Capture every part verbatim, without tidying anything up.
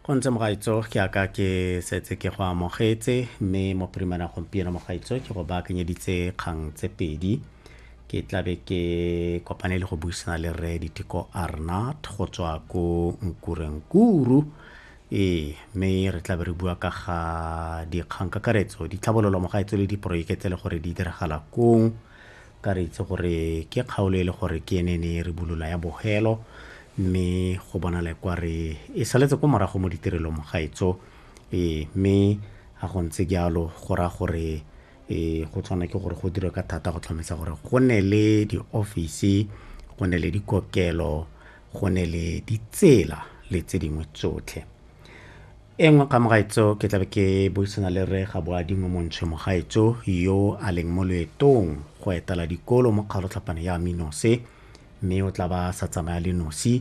Go ntse mogaetso, ke aka ke setse ke go amogetse, mme mo phirimana gompieno mogaetso ke go baakanyeditse kgang tse pedi. Ke tlabe ke kopane le go buisana le rre Diteko Arnard go tswa ko Nkurenkuru. Ee, mme re tlabe re bua ka ga dikgang kakaretso, ditlhabololo mogaetso le diporojeke tse e le gore di diragala kong. Ka re itse gore ke kgaolo e le gore ke ene ne re bulola ya bogelo, mme go bonala kwa re e saletse ko morago mo ditirelong mogaetso. Ee, mme ga go ntse jalo go raya gore e go tshwana ke gore go dirwe ka thata go tlhomamisa gore go nne le di-office, go nne le dikokelo, go nne le ditsela le tse dingwe tsotlhe. E nngwe ka mogaetso ke tlabe ke buisana le rre Gaboadingwe Montshwe mogaetso yo a leng mo loetong go etela dikolo mo kgaolotlhapane ya Aminose, mme o tla ba sa tsamaya le nosi,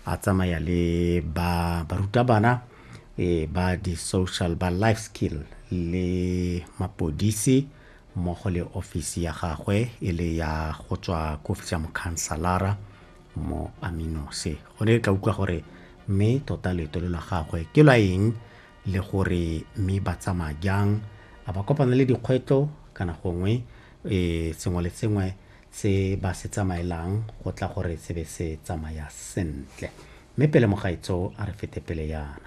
a tsamaya le ba barutabana e ba di-social ba life skill le mapodisi mmogo le ofisi ya gagwe e le ya go tswa ko ofisi ya mokhanselara mo Aminose. Gone re tla utlwa gore mme tota loeto le la gagwe ke lwa eng le gore mme ba tsamaya jang, a ba kopana le dikgwetlho kana gongwe e sengwe le sengwe se ba se tsamaelang go tla gore se be se tsamaya sentle. Mme pele mogaetso a re fete pele yana.